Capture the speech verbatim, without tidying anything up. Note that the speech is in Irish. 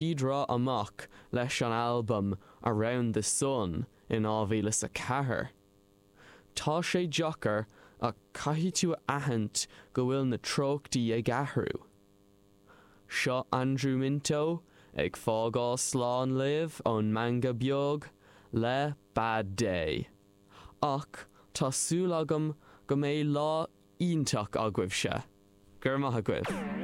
Draw amach leis an albam Around the Sun in dhá mhíle is a ceathair. Tá sé deacair ach caithfidh tú a aithint go bhfuil na treochtaí ag athrú. Seo Andrew Minto ag fágáil slán libh ón Meangadh Beag le Bad Day. Ach tá súil agam go mbeidh lá iontach agaibhse. Gur maith agaibh.